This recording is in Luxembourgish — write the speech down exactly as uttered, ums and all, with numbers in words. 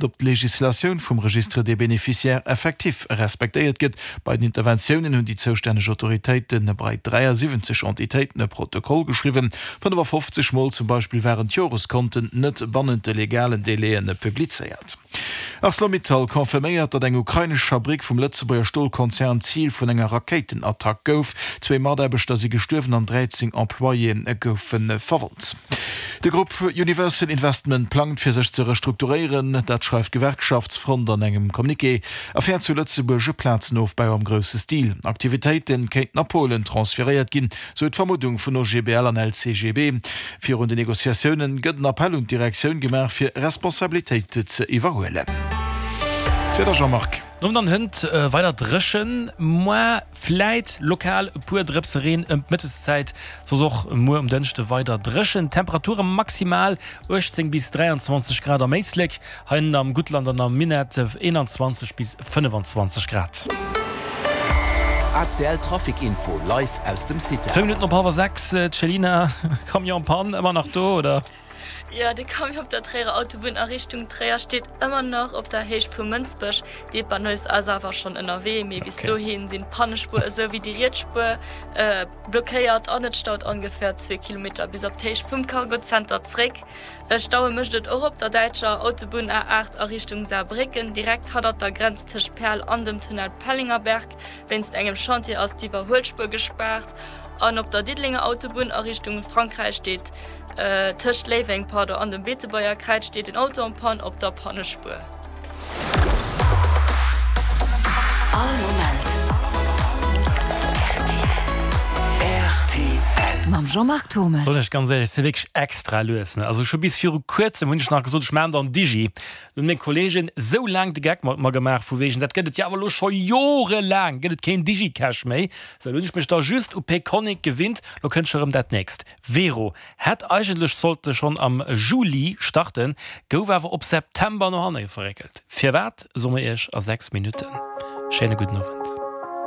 Ob d'Legislatioun vum Registre des bénéficiaires effectifs respektéiert gëtt. Bei den Interventiounen hunn déi zoustänneg Autoritéite bei dräiasiwwenzeg Entitéiten e Protokoll geschriwwen. fënnefafofzeg Mol zum Beispill waren d'Joreskonten net bannent de legalen Délaië publizéiert. Arcelor-Mittal confirméiert, datt eng ukrainesch Fabrick vum Lëtzebuerger Stolkonzern Zil vun enger Rakéitenattack gouf. Zwee Mataarbechter si gestuerwen an dräizéng Employéë goufe verwonnt. De Grupp Universal Investment plangt fir sech ze restrukturéieren. Dat schreift d'Gewerkschaftsfront an engem Communiqué. Affär zu Lëtzebuerg, e Plazenofbau am grousse Stil. Aktivitéite kéinten a Polen transferéiert ginn, sou d'Vermuddung vun O G B L an L C G B. Virun den Negociatioune gëtt en Appell un d'Direktioun gemaach fir Responsabilitéit ze iwwerhuelen. D'Wieder, Jean-Marc. Nun dann hënt weider dréchen, muer vläit lokal e puer Drëpse Reen ëm d'Mëtteszäit, soss och muer um Dënschde weider dréchen. Temperature maximal uechtzéng bis dräianzwanzeg Grad am Éislek, hei am Guttland an am Minett eenanzwanzeg bis fënnefanzwanzeg Grad. A C L Trafic Info live aus dem Cita. Zwou Minutten op hallwer sechs, Céline, Camion en panne ëmmer nach do, oder? Jo, de Camion op der Tréierer Autobunn a Richtung Tréier steet ëmmer nach op der Héicht vu Mënsbech. D'Dépanneuses ass awer schonn ënnerwee, mee bis dohi sinn d'Pannespuer esou wéi déi riets Spuer blockéiert an et staut ongeféier zwee Kilometer bis op d'Héicht vum Cargo Center zréck. Staue mécht et och op der däitscher Autobunn A aacht a Richtung Saarbrécken, direkt hannert der Grenz tëscht Perl an dem Tunnel Pellingerberg. Wéinst engem Chantier ass d'Iwwerhuelspuer gespaart. An op der Diddelenger Autobunn a Richtung Frankräich steet tëscht Léiweng, pardon, an dem Beetebuerger Kräiz steet en Auto en panne op der Pannespuer. All Moment R T L. Mam Jean-Marc Thommes. Soll ech ganz éierlech, si wierklech extra lues, ne? Also scho bis viru kuerzem hunn ech nach gesot, ech maachen dann Digi. Hunn meng Kollegen sou laang de Geck mat mer gemaach vu wegen, dat gëtt et jo awer elo scho jorelaang gëtt et keen Digicash méi. Sou, elo hunn ech mech da just u Payconiq gewinnt, lo kënnt scho rëm dat nächst. Wero hätt eigentlech sollte schonn am Juli starten, gouf awer op September no hanne verréckelt. Firwat, soe mer Iech a sechs Minutten. Schéine gudden Owend.